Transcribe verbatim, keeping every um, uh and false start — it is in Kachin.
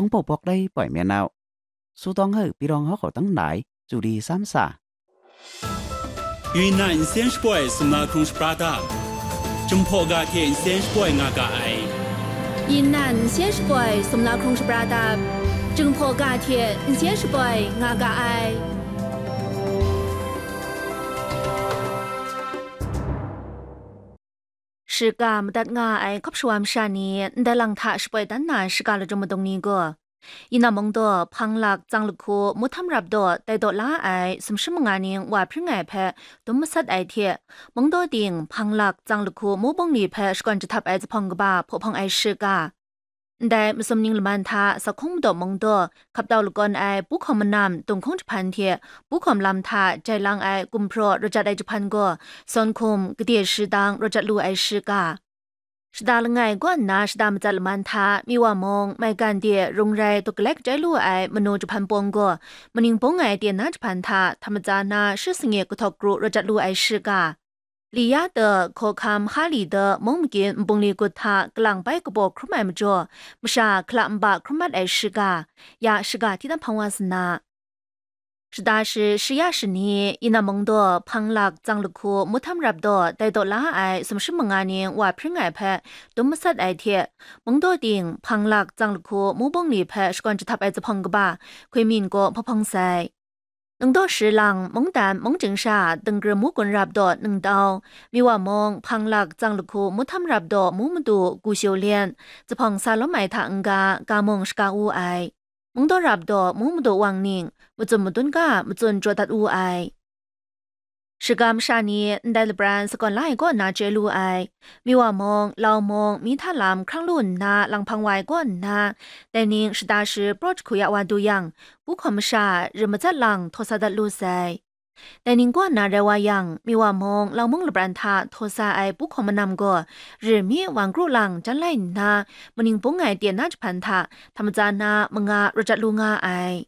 Hpawng pawk lai poi myen nau, Su Tawng Hau, Pyi Rawng Hawk Hkaw Tang Lai, Chu Li Sam Sa. 云南 N C N 十八 sumla hkrung shapra dap, Jinghpaw ga hte N C N 十八 nga ga ai. 云南 N C N 十八 sumla hkrung shapra dap, Jinghpaw ga hte N C N 十八 nga ga ai. Shiga madat nga ai hkap shawa masha ni ndai lang hta shapoi dan na shiga lachyum madung ni gaw, Yinam Mungdaw, Hpanglak, Tsang Lahku, Muhtam Rapdaw tai daw la ai sumshi manga ning wa hpring ai hpe dum masat ai hte, Mungdaw ting, Hpanglak, Tsang Lahku, Mubungli hpe shakawn jahtap ai zuphpawng kaba hpaw hpawng ai shiga. Ndai masum ning laman hta Sakhung Madaw Mungdaw, Hkaptau Lakawn ai Pu Hkawm Manam, Dunghkung Jahpan hte Pu Hkawm Lam hta jai lang ai gumhpraw rajat ai jahpan gaw, Sawn Hkum, Gade Shadang rajat lu ai shiga. Shada langai kaw nna shada matsat laman hta Miwa mung, Maigan de Rungrai Dawk Galai kachai lu ai manu jahpan pawng gaw, Maning Bung ai Tena jahpan hta hta matsa na shi sangi kahtawk kru rajat lu ai shiga. Li ya de, Hkawhkam Hali de, Mung Makyit Nbungli Gut hta kalang bai kabaw hkrum ai majaw, masha hkala nba hkrum mat ai shiga, ya shiga hti dan hpang wa sa na. Shada shi, shi ya shi ni, Yinam Mungdaw, Hpanglak, Tsang Lahku, Muhtam Rapdaw tai daw la ai sumshi manga ning wa hpring ai hpe dum masat ai hte, Mungdaw ting, Hpanglak, Tsang Lahku, Mubungli hpe shakawn jahtap ai zuphpawng kaba, Hkui Min gaw hpaw hpawng sai. Nungdaw shi lang, Mungdan, Mungchying sha, Dingri Mugun Rapdaw, Ningtau, Miwa mung, Hpanglak, Tsang Lahku, Muhtam Rapdaw, Mu Madu, Gu Shio Lyen, zuphpawng sa lawm ai hta n-ga, ga mung shaga wu ai. Mungdaw Rapdaw, Mu Madu Wang Ning, matsun madun ga, matsun jaw dat wu ai. Shiga masha ni ndai lapran sakawn la ai kaw nna chye lu ai. Miwa mung, Lau mung, Mihta lam hkrang lu nna lang hpang wa ai kaw nna, dai ning shada shi praw jahku ya wa du yang, Pu Hkawm masha rim matsat lang htaw sa dat lu sai. Dai ning kaw nna rai wa yang, Miwa mung, Lau mung lapran hta htaw sa ai Pu Hkawm Manam gaw, rim mi wan kru lang jan lai nna, Maning Bung ai Tena jahpan hta hta matsa na manga rajat lu nga ai.